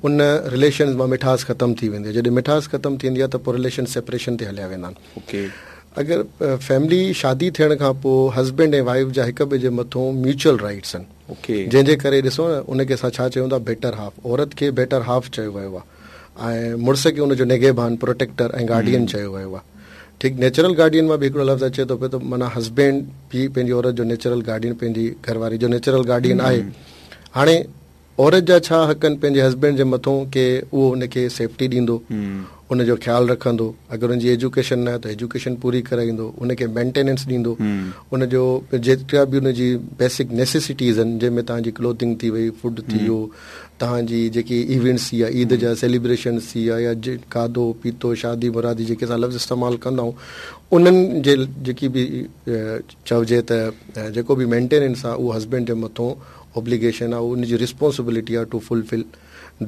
ان relations مان مٺاس ختم ٿي ويندي آهي. جڏهن مٺاس ختم ٿيندي آهي ته پوء رليشن سيپريشن تي هليا ويندا آهن. اگر فيملي شادي ٿيڻ کان پوء هسبينڊ ۽ وائيف جا هڪ ٻئي جي مٿون ميوچل رائيٽس آهن. جنهن جي ڪري ڏسو نه ان کي اسان ڇا چئون ٿا بيٽر هاف. عورت کي بيٽر هاف چيو ويو آهي ۽ مڙس کي ان جو نگهبان، پروٽيڪٽر ۽ گارڊين چيو ويو آهي. ٺيڪ نيچرل گارڊين مان به هڪڙو لفظ اچي ٿو پيو ته معنيٰ هسبينڊ به پنهنجي عورت جو نيچرل گارڊين پنهنجي گهر واري جو نيچرل گارڊين آهي. هاڻي عورت جا ڇا حق آهن پنهنجي هسبينڊ جي مٿون ڪي اهو ان کي سيفٽي ڏيندو، ان جو خيال رکندو، اگر ان جي ايجوڪيشن ناهي ته ايجوڪيشن پوري ڪرائيندو، ان کي مينٽيننس ڏيندو، ان جو جيترا به ان جي بيسڪ نيسيسٽيز آهن جنهن ۾ توهان جي ڪلوٿنگ ٿي وئي، فوڊ ٿي ويو، توهان جي جيڪي ايونٽس ٿي ويا، عيد جا سيليبريشنس ٿي ويا يا کاڌو پيتو شادي مرادي جيڪي اسان لفظ استعمال ڪندا آهيون انهن جي جيڪي به چئجي ته جيڪو به مينٽيننس آهي اهو هسبينڊ جي مٿون اوبليگيشن آ ان جي رسپانسبلٽي آ ٽو فلفل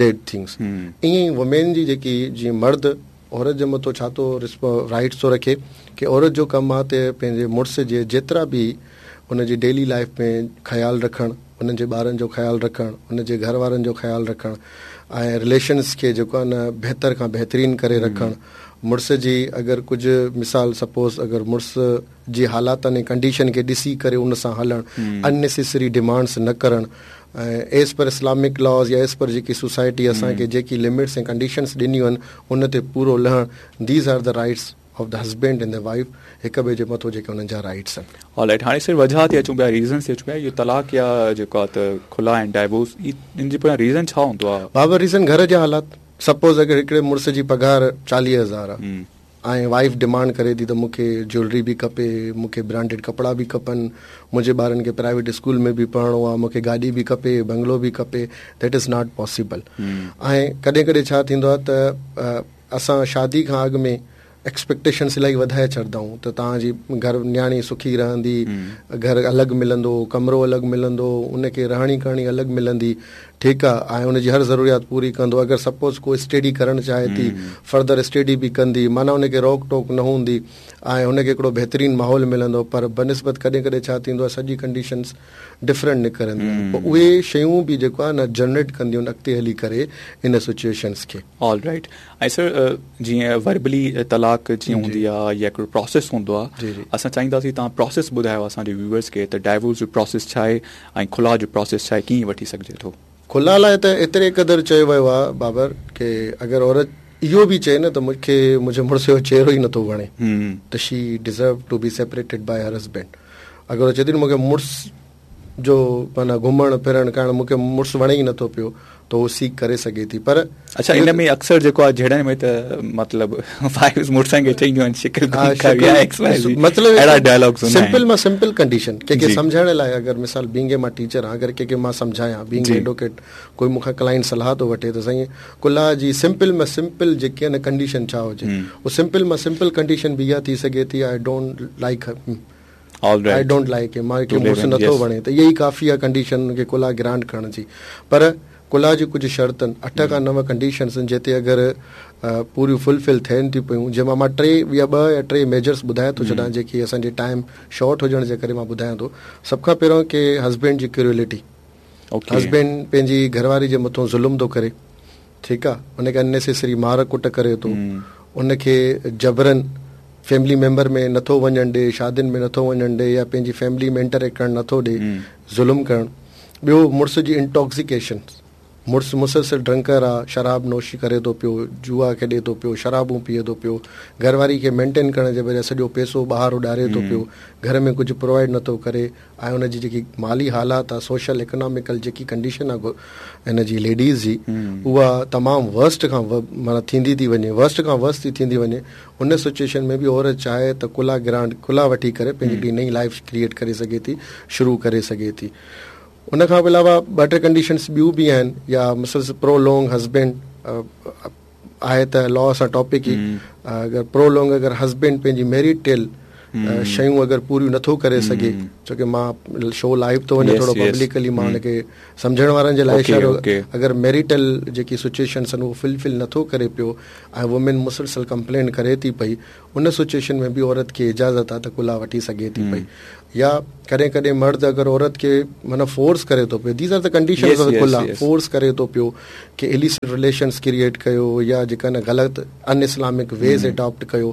that things ائين ئي وومين جي جيڪي جيئن مرد عورت جي مٿو ڇا ٿو رائٽس ٿو رکي ڪي عورت جو ڪم آ ته پنهنجي مڙس جي جيترا به ان جي ڊيلي لائف ۾ خيال رکڻ انهن جي ٻارن جو خيال رکڻ ان جي گهر وارن جو خيال رکڻ ۽ رليشنس کي جيڪو آ نه بهتر کان بهترين ڪري رکڻ مڙس جي اگر ڪجهه مثال سپوز اگر مڙس جي حالاتن ۽ ڪنڊيشن کي ڏسي ڪري ان سان هلڻ، ان نيسيسري ڊيمانڊس نه ڪرڻ ۽ ايز پر اسلامڪ لاز يا ايز پر جيڪي سوسائٽي اسان کي جيڪي لمٽس ۽ ڪنڊيشنس ڏنيون آهن ان تي پورو لهڻ these are the rights of the husband and the wife هڪ ٻئي جي مٿو جيڪي انهن جا رائٽس آهن. آل رائٽ هاڻي سر وجهه تي اچون پيا ريزنس تي اچون پيا اهو طلاق يا جيڪو آهي ته خلع ۽ ڊائيورس ان جي پويان ريزن ڇا هوندو آهي؟ بابا ريزن گهر جا حالات سپوز اگر هڪڙي مڙس جي پگهار 40,000 آهي ۽ وائيف ڊمانڊ ڪري ٿي ته مون کي جيولري به کپي، مون کي برانڊيڊ ڪپڙا به کپن، منهنجي ٻارن کي پرائيويٽ اسڪول ۾ به پڙهڻو آهي، مون کي گاڏي به کپي، بنگلو به کپي، that is not possible. ۽ ڪڏهن ڪڏهن ڇا ٿيندو آهي ته اسان شادي کان اڳ ۾ ايڪسپيڪٽيشنس الاهي وڌائي ڇڏندا آهيون ته توهان جي گهر نياڻي سکي رهندي، گهر الڳ ملندو، ڪمرو الڳ ملندو، ان کي رهڻي ڪرڻي الڳ ملندي، ٺيڪ آ ۽ ان جي هر ضروريات پوري ڪندو اگر سپوز ڪو اسٽيڊي ڪرڻ چاهي ٿي فردر اسٽيڊي به ڪندي معنيٰ ان کي روڪ ٽوڪ نه هوندي ۽ ان کي هڪڙو بهترين ماحول ملندو پر بنسبت ڪڏهن ڪڏهن ڇا ٿيندو آ سڄي ڪنڊيشنس ڊفرنٽ نڪرنديون آهن پوء اهي شيون به جيڪو آ نه جنريٽ ڪنديون آهن اڳتي هلي ڪري ان سچوئيشنس کي. آل رائيٽ ۽ سر جيئن وربلي طلاق جيئن هوندي آ يا هڪڙو پراسيس هوندو آ اسان چاهينداسين توهان پراسيس ٻڌايو اسان جي ويوئرس کي ته ڊائيورس جو پراسيس ڇا آهي ۽ خلع جو پراسيس ڇا آهي ڪيئن وٺي سگهجي ٿو. خلع لاء ته ايتري قدر چيو ويو آ بابر ڪي اگر عورت اهو به چئي نه ته مون کي منهنجي مڙس جو چهرو ئي نٿو وڻي ته she deserve to be separated by her husband اگر هو چئي ٿي نه مون کي مڙس جو معنيٰ گهمڻ ڦرڻ ڪرڻ مون کي مڙس وڻي ئي نٿو پيو ته هو سيڪ ڪري سگهي ٿي پر اڇا ان ۾ اڪثر جيڪو آهي جهيڙن ۾ ته مطلب وائيفز مڙسن کي چئينديون آهن شڪل گم ڪر يا ايڪس وائي زي مطلب اهڙا ڊائلاگز هوندا آهن سمپل مان سمپل ڪنڊيشن ڪنهن کي سمجهائڻ لاء اگر مثال بينگ اي مان ٽيچر آهيان اگر ڪنهن کي مان سمجهايان بينگ ايڊووڪيٽ ڪوئي مون کان ڪلائنٽ صلاح ٿو وٺي ته سائين خلع جي سمپل مان سمپل جيڪي آهي نه ڪنڊيشن ڇا هجي اهو سمپل مان سمپل ڪنڊيشن به اها ٿي سگهي ٿي I don't like I don't like him مان کي مڙس نٿو وڻي ته اها ئي ڪافي آهي ڪنڊيشن ان کي خلع گرانٽ ڪرڻ جي پر خلع جي ڪجهه شرطن 8 کان 9 ڪنڊيشنس آهن جتي اگر پوريون فلفل ٿين ٿيون پيون جنهن مان مان ٽي يا ٻه يا ٽي ميجرس ٻڌائي ٿو ڇڏان جيڪي اسان جي ٽائيم شارٽ هجڻ جي ڪري مان ٻڌايان ٿو سڀ کان پهريون ڪي هسبينڊ جي ڪريولٽي هسبينڊ پنهنجي گهرواري جي مٿون ظلم ٿو ڪري ٺيڪ آ ان کي اننيسيسري مار ڪٽ ڪري ٿو ان کي جبرن فيملي ميمبر ۾ نٿو وڃڻ ڏي شادين ۾ نٿو وڃڻ ڏي يا پنهنجي فيملي ۾ انٽريڪٽ ڪرڻ نٿو ڏي ظلم ڪرڻ ٻيو مڙس جي انٽاڪسيڪيشن مڙس مسلسل ڊرنڪر آ شراب نوشي ڪري ٿو پيو جوا کيڏي ٿو پيو شرابون پيئي ٿو پيو گهر واري کي مينٽين ڪرڻ جي بجاء سڄو پئسو ٻاهر اڏاري ٿو پيو گهر ۾ ڪجهه پرووائيڊ نٿو ڪري ۽ ان جي جيڪي مالي حالات آ سوشل اڪناميڪل جيڪي ڪنڊيشن آ ان جي ليڊيز جي اها تمام ورسٽ کان معنيٰ ٿيندي ٿي وڃي ورسٽ کان ورس ٿي ٿيندي وڃي ان سچويشن ۾ به عورت چاهي ته خلع گرانٽ خلع وٺي ڪري پنهنجي هڪڙي نئين لائف ڪريئيٽ ڪري سگهي ٿي شروع ڪري سگهي ٿي ان کان علاوه ٻه ٽي ڪنڊيشنس ٻيون به آهن يا مسلسل پرو لانگ هسبينڊ آهي ته لا سان ٽاپڪ ئي اگر پرو لانگ اگر هسبينڊ پنهنجي ميريٽل شيون اگر پوريون نٿو ڪري سگهي ڇو ڪي مان شو لائيو ٿو وڃي ٿورو پبلڪلي مان ان کي سمجهڻ وارن جي لاء اشارو اگر ميريٽل جيڪي سچويشنس آهن اهو فلفل نٿو ڪري پيو ۽ وومين مسلسل ڪمپلين ڪري ٿي پئي ان سچويشن ۾ به عورت کي اجازت آهي ته خلع وٺي سگهي ٿي پئي. يا ڪڏهن ڪڏهن مرد اگر عورت کي معنيٰ فورس ڪري ٿو پيو these are the conditions of خلع فورس ڪري ٿو پيو ڪي اليسٽ رليشنس ڪريئيٽ ڪيو يا جيڪا نه غلط ان اسلامڪ ويز اڊاپٽ ڪيو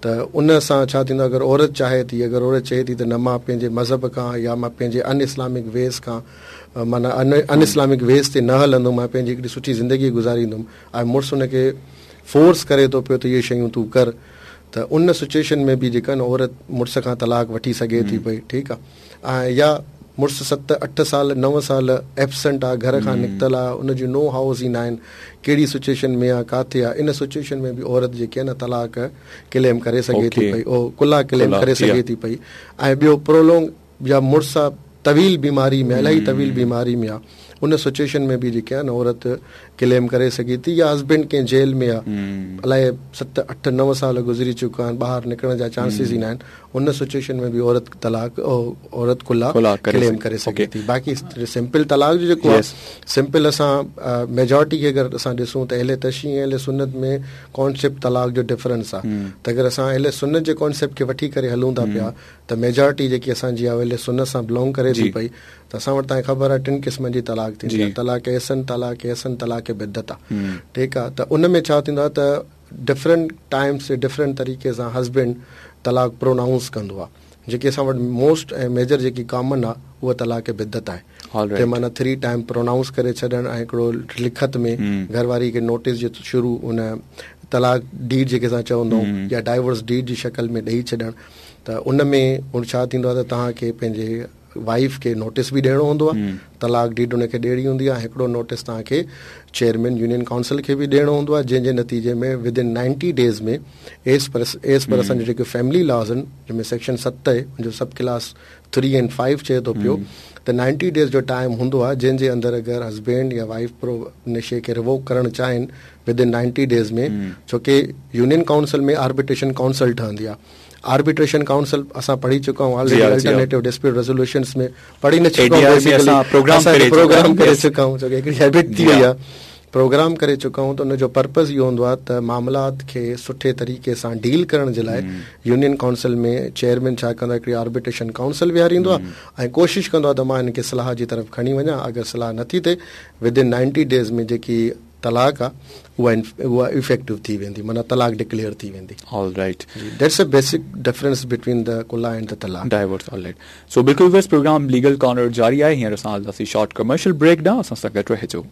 ته ان سان ڇا ٿيندو اگر عورت چاهي ٿي اگر عورت چئي ٿي ته نه مان پنهنجي مذهب کان يا مان پنهنجي ان اسلامڪ ويز کان معنيٰ ان اسلامڪ ويز تي نه هلندم مان پنهنجي هڪڙي سٺي زندگي گذاريندم ۽ مڙس ان کي فورس ڪري ٿو پيو ته اهي شيون تون ڪر ته ان سچويشن ۾ به جيڪا نه عورت مڙس کان طلاق وٺي سگهي ٿي پئي ٺيڪ آ ۽ يا مڙس ست اٺ سال نو سال ايبسنٽ آ گهر کان نڪتل آ ان جون نو هائوز ئي ناهن ڪهڙي سچويشن ۾ آ ڪاٿي آ ان سچويشن ۾ به عورت جيڪي آ نه طلاق ڪليم ڪري سگهي ٿي پئي او خلع ڪليم ڪري سگهي ٿي پئي ۽ ٻيو پرولونگ يا مڙس آ طويل بيماري ۾ الاهي طويل بيماري ۾ آ ان سچويشن ۾ به جيڪي آ نه عورت ڪليم ڪري سگهي ٿي يا هسبينڊ ڪنهن جيل ۾ آ الائي ست اٺ نو سال گذري چڪا آهن ٻاهر نڪرڻ جا چانسز ئي ناهن ان سچويشن ۾ به عورت طلاق عورت خلع ڪليم ڪري سگهي ٿي باقي سمپل طلاق جو جيڪو آ سمپل اسان ميجارٽي کي اگر اسان ڏسون ته اهل تشيع ۽ اهل سنت ۾ ڪانسيپٽ طلاق جو ڊفرنس آ ته اگر اسان اهل سنت جي ڪانسيپٽ کي وٺي ڪري هلون ٿا پيا ته ميجارٽي جيڪي اسان جي آ اهل سنت سان بلونگ ڪري ٿي پئي ته اسان وٽ توهان کي خبر آهي ٽن قسمن جي طلاق ٿيندي آهي طلاق احسن طلاق احسن طلاق بدعت آ ٺيڪ آ ته ان ۾ ڇا ٿيندو آهي ته ڊفرنٽ ٽائمس تي ڊفرنٽ طريقي سان هسبينڊ طلاق پرونائونس ڪندو آ جيڪي اسان وٽ موسٽ ۽ ميجر جيڪي ڪامن آ اها طلاق بدعت آهي ته معنيٰ ٿري ٽائم پرونائونس ڪري ڇڏڻ ۽ هڪڙو لکت ۾ گهر واري کي نوٽيس جي شروع ان طلاق ڊيڊ جيڪي اسان چوندا آهيون يا ڊائيورس ڊيڊ جي شڪل ۾ ڏئي ڇڏڻ ته ان ۾ ڇا ٿيندو آهي ته توهان کي پنهنجي وائيف کي نوٽيس به ڏيڻو هوندو آهي طلاق ڊيڊ ان کي ڏيڻي هوندي آهي هڪڙو نوٽيس توهان کي چيئرمين يونين ڪائونسل کي به ڏيڻو هوندو آهي جنهن جي نتيجي ۾ with in 90 days ۾ as per as per اسان جا جيڪي فيملي لاز آهن جنهن ۾ سيڪشن 7 آهي ان جو سب ڪلاس 3 ۽ 5 چئي ٿو پيو ته 90 ڊيز جو ٽائيم هوندو آهي جنهن جي اندر اگر هسبينڊ يا وائيف پرو ان شي کي ريووڪ ڪرڻ چاهين ود ان 90 ڊيز ۾ ڇو ڪي يونين ڪائونسل ۾ آربيٽريشن ڪائونسل ٺهندي آهي آربيٽريشن ڪائونسل اسان پڙهي چڪا آهيون آلريڊي الٽرنيٽو ڊسپيوٽ ريزوليوشنز ۾ پڙهي نه چڪا آهيون بيسيڪلي پروگرام ڪري چڪا آهيون ڇو ڪي هڪڙي هيبٽ ٿي وئي آهي پروگرام ڪري چڪا آهيون ته ان جو پرپز اهو هوندو آهي ته معاملات کي سٺي طريقي سان ڊيل ڪرڻ جي لاء يونين ڪائونسل ۾ چيئرمين ڇا ڪندو آهي هڪڙي آربيٽريشن ڪائونسل ويهاريندو آهي ۽ ڪوشش ڪندو آهي ته مان هن کي صلاح جي طرف کڻي وڃان اگر صلاح نٿي ٿئي ود ان 90 ڊيز ۾ جيڪي طلاق آ اها اها افيڪٽو ٿي ويندي معنيٰ طلاق ڊڪليئر ٿي ويندي. All right. Ji that's a basic difference between the خلع and the talaq. Divorce all right so بلڪل ويورز پروگرام ليگل ڪارنر جاري آهي هينئر اسان هلنداسين شارٽ ڪمرشل بريڪ ڏانهن اسان سان گڏ رهجو.